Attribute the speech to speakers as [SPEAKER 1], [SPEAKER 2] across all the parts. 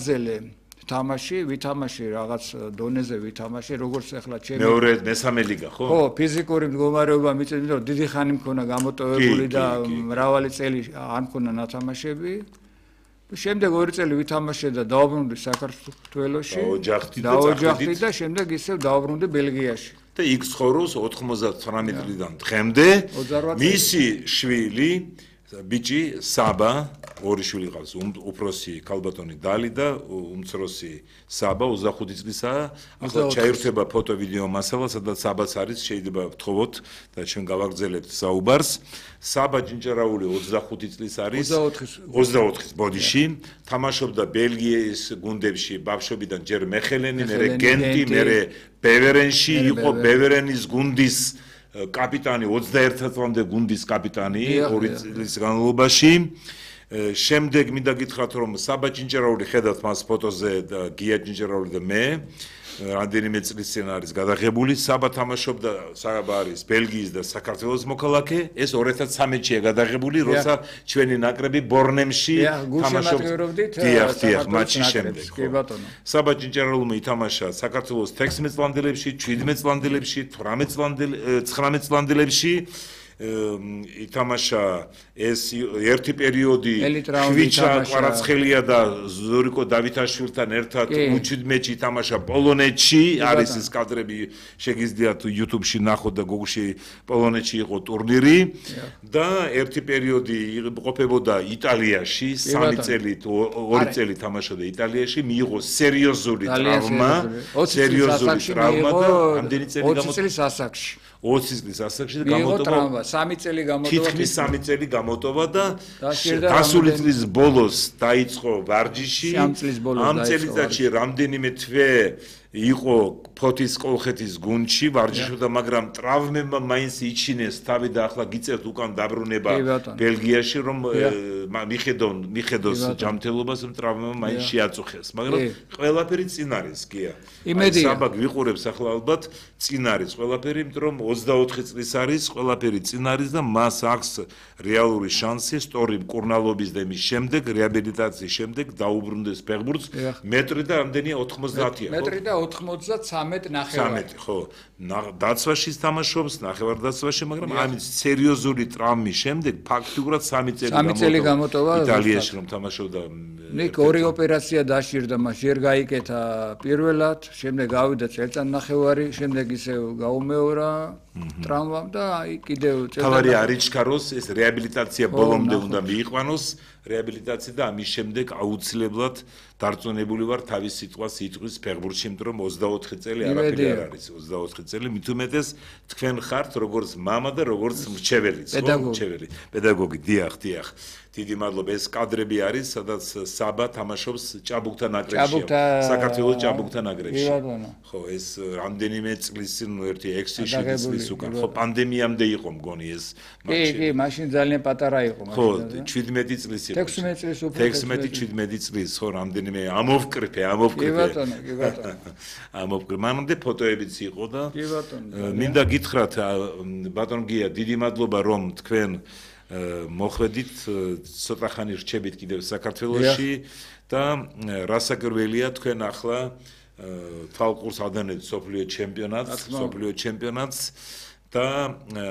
[SPEAKER 1] გაგრძელე თამაში, ვითამაში რაღაც დონეზე ვითამაში, როგორც ახლა ჩემი
[SPEAKER 2] მეორე მესამე ლიგა, ხო?
[SPEAKER 1] ხო, ფიზიკური მდგომარეობა მიწევს, რომ დიდი ხანი მქონა გამოტოვებული და მრავალი წელი არ მქონა ნათამაშები. შემდეგ 2 წელი ვითამაშე და დავბრუნდი საქართველოში. დაოჯახდი და შემდეგ ისევ დავბრუნდი ბელგიაში.
[SPEAKER 2] და იქ ცხოვრობს 99 წლიდან დღემდე. მისი შვილი ბიჭი საბა, ორი შვილი ყავს, უფროსი ქალბატონი დალი და უმცროსი საბა 25 წლისაა. ახლა ჩაირთვება ფოტო-ვიდეო მასალა, სადაც საბაც არის, შეიძლება ვთხოვოთ და ჩვენ გავაგრძელებთ საუბარს. საბა ჯინჯარაული 25 წლის არის, 24-ის ბოდიში, თამაშობდა ბელგიის გუნდებში, ბავშვობიდან ჯერ მეხელენი, მერე გენტი, მერე ბევერენში, იყო ბევერენის გუნდის კაპიტანი 21 წლამდე გუნდის კაპიტანი 2 წლის განმავლობაში. შემდეგ მინდა გითხრათ რომ საბა ჯინჯარაული ხედავთ მას ფოტოზე და გია ჯინჯარაული და მე რამდენიმე წლის წინ არის გადაღებული. საბა თამაშობდა საბა არის ბელგიის და საქართველოს მოქალაქე. ეს 2013-ია გადაღებული, როცა ჩვენი ნაკრები ბორნემში თამაშობდა მატჩის შემდეგ. საბა ჯინჯარაულმა ითამაშა საქართველოს 16 წლამდელებში, 17 წლამდელებში, 19 წლამდელებში. ითამაშა ეს ერთი პერიოდი ხვიჩა კვარაცხელია და ზურიკო დავითაშვილთან ერთად U17-ში ითამაშა პოლონეთში, არის ეს კადრები შეგიძლიათ YouTube-ში ნახოთ და Google-ში პოლონეთში იყო ტურნირი და ერთი პერიოდი ყოფებოდა იტალიაში, 3 წელი 2 წელი თამაშობდა იტალიაში, მიიღო სერიოზული ტრავმა და ამდენი წელი
[SPEAKER 1] 20 წლის ასაკში
[SPEAKER 2] 20 წლის ასაკში და გამოტოვა
[SPEAKER 1] 3 წელი გამოტოვა
[SPEAKER 2] თითქმის 3 წელი გამოტოვა და გასული წლის ბოლოს დაიწყო ვარჯიში ამ წელიწადში რამდენიმე თვე იყო ფოთის კოლხეთის გუნდში ვარჯიშობდა მაგრამ ტრავმებმა მაინც იჩინეს თავი და ახლა გიწევთ უკან დაბრუნება ბელგიაში რომ მიხედოს ჯანმრთელობას რომ ტრავმებმა მაინც შეაწუხეს მაგრამ ყველაფერი წინ არის გია საბა გვიყურებს ახლა ალბათ წინ არის ყველაფერი იმიტომ რომ 24 წლის არის ყველაფერი წინ არის და მას აქვს რეალური შანსი სწორი მკურნალობის და იმის შემდეგ რეაბილიტაციის შემდეგ დაუბრუნდეს ფეხბურთს მეტრი და რამდენია 90-ია
[SPEAKER 1] მეტრი და 93 ნახევარი.
[SPEAKER 2] ხო, დაცვაში თამაშობს, ნახევარდაცვაში, მაგრამ ამის სერიოზული ტრავმის შემდეგ ფაქტიურად 3 წელი
[SPEAKER 1] გამოტოვა
[SPEAKER 2] იტალიაში რომ თამაშობდა.
[SPEAKER 1] ნიკ ორი ოპერაცია დაშირდა, მას ჯერ გაიკეთა პირველად, შემდეგ გავიდა წელწადნახევარი, შემდეგ ისევ გაუმეორა ტრავმამ და კიდევ
[SPEAKER 2] თავარი არიჩქაროს, ეს რეაბილიტაცია ბოლომდე უნდა მიიყვანოს. რეაბილიტაცია და ამის შემდეგ აუცილებლად დარწმუნებული ვარ თავის სიტყვას იტყვის ფეხბურთში, იმიტომ რომ 24 წელი არაფერი არ არის, 24 წელი მით უმეტეს თქვენ ხართ როგორც მამა და როგორც მრჩეველი, პედაგოგი, დიახ. დიდი მადლობა, ეს კადრები არის, სადაც საბა თამაშობს ჭაბუკთა ნაკრებში, საქართველოს ჭაბუკთა ნაკრებში. ხო, ეს რამდენიმე წლის წინ ერთი 6-7 წლის უკან, ხო, პანდემიამდე იყო მგონი ეს
[SPEAKER 1] მატჩი. კი, მაშინ ძალიან პატარა იყო
[SPEAKER 2] მაშინ. ხო, 17 წლის იყო.
[SPEAKER 1] 16 წლის უფრო.
[SPEAKER 2] 16-17 წლის, ხო, რამდენიმე ამოვკრიფე.
[SPEAKER 1] კი ბატონო.
[SPEAKER 2] ამოვკრიფე. მანამდე ფოტოებიც იყო და
[SPEAKER 1] კი ბატონო.
[SPEAKER 2] მინდა გითხრათ ბატონ გია, დიდი მადლობა რომ თქვენ მოხვედით ცოტა ხანი რჩებით კიდევ საქართველოში და რასაკვირველია თქვენ ახლა თვალყურს ადანებთ სოფლიო ჩემპიონატს და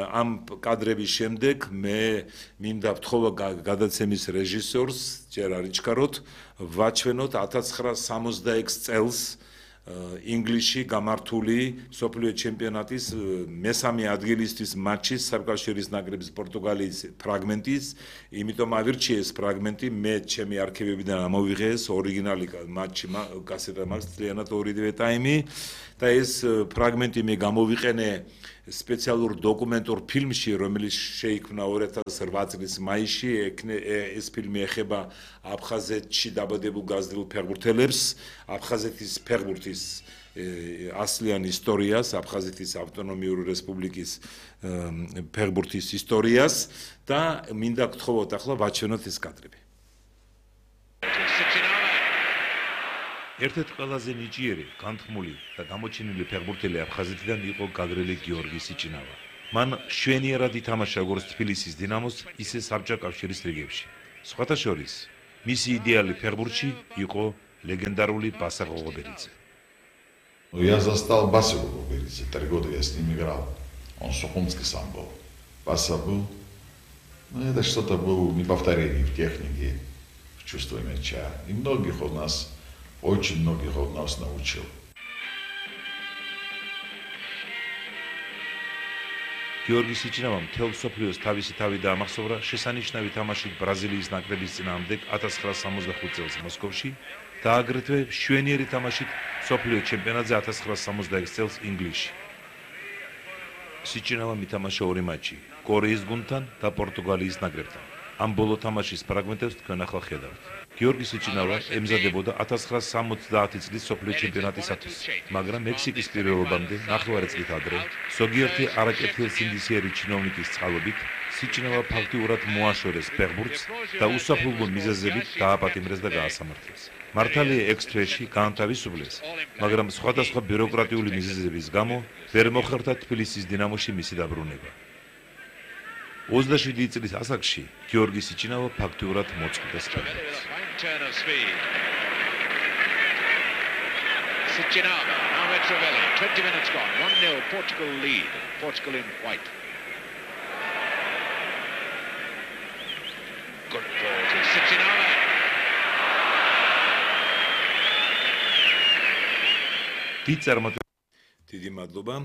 [SPEAKER 2] ამ კადრების შემდეგ მე მინდა ვთხოვა გადაცემის რეჟისორს ჯერ არიჩქაროთ ვაჩვენოთ 1966 წელს ინგლისში გამართული სოფლიო ჩემპიონატის მესამე ადგილისთვის მატჩის საბჭოების ნაკრების პორტუგალიის ფრაგმენტის, იმიტომ ავირჩიეს ფრაგმენტი, მე ჩემი არქივებიდან ამოვიღე ეს ორიგინალი მატჩი კასეტა მაქვს ძალიანად ორივე ტაიმი და ეს ფრაგმენტი მე გამოვიყენე სპეციალურ დოკუმენტურ ფილმში, რომელიც შეიქმნა 2008 წლის მაისში, ეს ფილმი ეხება აფხაზეთში დაბადებულ გაზრდილ ფეხბურთელებს, აფხაზეთის ფეხბურთის ასლიან ისტორიას, აფხაზეთის ავტონომიური რესპუბლიკის ფეხბურთის ისტორიას და მინდა გთხოვოთ ახლა ვაჩვენოთ ეს კადრები. ერთ-ერთი ყველაზე ნიჭიერი, განთქმული და გამოჩენილი ფეხბურთელი აფხაზეთიდან იყო გაგრელი გიორგი სიჭინავა. მან შვენიერად ითამაშა როგორც თბილისის დინამოს, ისე საბჭოთა კავშირის რიგებში. სხვათა შორის, მისი იდეალი ფეხბურთში იყო легендарული Баса Гогоберидзе.
[SPEAKER 3] Я застал Басу Гогоберидзе, 3 года я с ним играл. Он сухумский сам был. Баса был. Ну, это что-то было неповторение в технике, в чувстве мяча. И многих он нас, очень многих он нас научил.
[SPEAKER 2] გიორგი სიჩინავამ მთელ მსოფლიოს თავისი თავი დაამახსოვრა შესანიშნავი თამაშით ბრაზილიის ნაკრების წინააღმდეგ 1965 წელს მოსკოვში და აგრეთვე მშვენიერი თამაშით მსოფლიო ჩემპიონატზე 1966 წელს ინგლისში. სიჩინავამ ითამაშა 2 მატჩი კორეის გუნდთან და პორტუგალიის ნაკრებთან. ამ ბოლო თამაშის ფრაგმენტებს თქვენ ახლა ხედავთ. გიორგი სიჩინავა ემზადებოდა 1970 წლის მსოფლიო ჩემპიონატისათვის, მაგრამ მექსიკის პირველობამდე ნახევარი წლით ადრე, ზოგიერთი არაკეთილსინდისიერი ჩინოვნიკის წყალობით, სიჩინავა ფაქტიურად მოაშორეს ფეხბურთს და უსაფრთხო მიზეზებით დააპატიმრეს და გაასამართლეს. მართალია ექსტრეში გაანთავისუფლეს, მაგრამ სხვადასხვა ბიუროკრატიული მიზეზების გამო ვერ მოხერხდა თბილისის დინამოში მისი დაბრუნება. 27 წლის ასაკში გიორგი სიჩინავა ფაქტიურად მოწყვეტეს ფეხბურთს.
[SPEAKER 4] Sichinava, now Mitrovelli, 20 minutes gone, 1-0 Portugal lead, Portugal in white. Good ball to Sichinava.
[SPEAKER 2] დიდი მადლობა.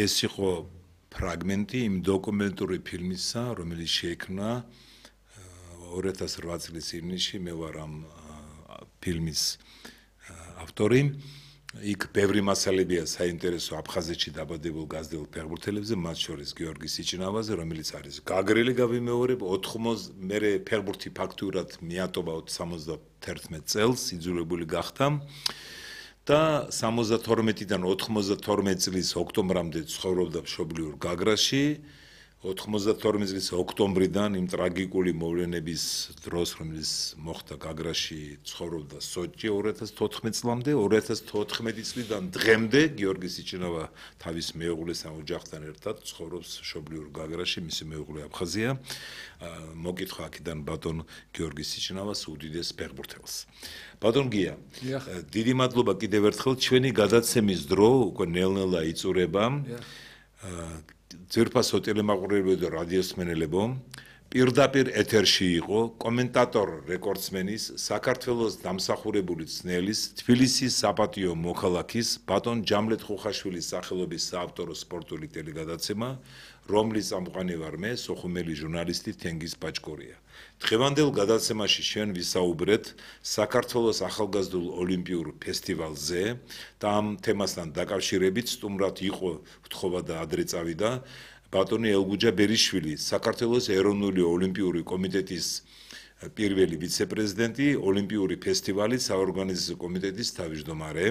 [SPEAKER 2] ეს იყო ფრაგმენტი იმ დოკუმენტური ფილმისა, რომელიც შეიქმნა 2008 წლის ივნისში, მე ვარ ამ ფილმის ავტორი. იქ ბევრი მასალებია საინტერესო აფხაზეთში დაბადებულ გაზრდილ ფეხბურთელებზე, მათ შორის გიორგი სიჩინავაზე, რომელიც არის გაგრილი გავიმეორებ, 80 მერე ფეხბურთი ფაქტურად მიატოვა 71 წელს, იძულებული გახდა. და 72-დან 92 წლის ოქტომბრამდე ცხოვრობდა მშობლიურ გაგრაში. 92 წლის ოქტომბრიდან იმ ტრაგიკული მოვლენების დროს, რომელიც მოხდა გაგრაში, ცხოვრობდა სოჭი 2014 წლამდე. 2014 წლიდან დღემდე გიორგი სიჩინავა თავის მეუღლესთან ოჯახთან ერთად ცხოვრობს მშობლიურ გაგრაში, მისი მეუღლე აფხაზია. მოკითხა აქედან ბატონ გიორგი სიჩინავას უდიდეს ფეხბურთელს. ბატონ გია, დიდი მადლობა კიდევ ერთხელ, ჩვენი გადაცემის დრო უკვე ნელ-ნელა იწურება. ძვირფასო ტელემაყურებლებო და რადიოსმენელებო, პირდაპირ ეთერში იყო კომენტატორ რეკორდსმენის, საქართველოს დამსახურებული ცნელის, თბილისის საპატიო მოქალაქის ბატონ ჯამლეთ ხუხაშვილის სახელობის საავტორო სპორტული ტელეგადაცემა, რომლის წამყვანი ვარ მე, სოხუმელი ჟურნალისტი თენგიზ ბაჭკორია. დღევანდელ გადაცემაში ჩვენ ვისაუბრეთ საქართველოს ახალგაზრდულ ოლიმპიურ ფესტივალზე და ამ თემასთან დაკავშირებით სტუმრად იყო ვთხოვა და ადრე წავიდა ბატონი ელგუჯა ბერიშვილი, საქართველოს ეროვნული ოლიმპიური კომიტეტის პირველი ვიცე-პრეზიდენტი, ოლიმპიური ფესტივალის საორგანიზაციო კომიტეტის თავმჯდომარე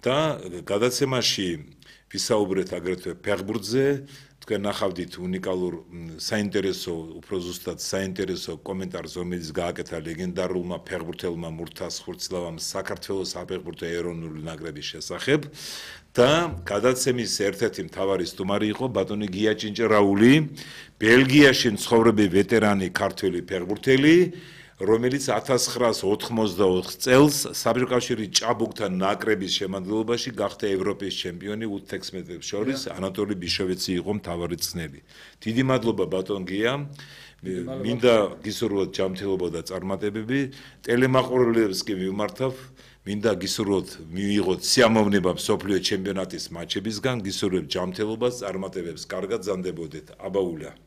[SPEAKER 2] და გადაცემაში ვისაუბრეთ აგრეთვე ფეხბურთზე. თქვენ ნახავდით უნიკალურ საინტერესო, უფრო ზუსტად საინტერესო კომენტარს, რომელიც გააკეთა ლეგენდარულმა ფეხბურთელმა მურთას ხურცლავამ საქართველოს საფეხბურთო ეროვნული ნაკრების შესახებ და გადაცემის ერთ-ერთი მთავარი სტუმარი იყო ბატონი გია ჭინჭრაული, ბელგიაში მცხოვრები ვეტერანი ქართველი ფეხბურთელი, რომელიც 1984 წელს საბჭოთა ჭაბუკთან ნაკრების შემადგენლობაში გახდა ევროპის ჩემპიონი 5 მეტრებს შორის, ანატოლი ბიშოვეცი იყო მთავარი წნელი. დიდი მადლობა ბატონ გია. მინდა გისურვოთ ჯანმრთელობა და წარმატებები. ტელემაყურებლებს კი მიმართავ, მინდა გისურვოთ მიიღოთ სიამოვნება მსოფლიო ჩემპიონატის მატჩებისგან, გისურვებთ ჯანმრთელობას, წარმატებებს, კარგად ზამდებოდეთ. აბაულა.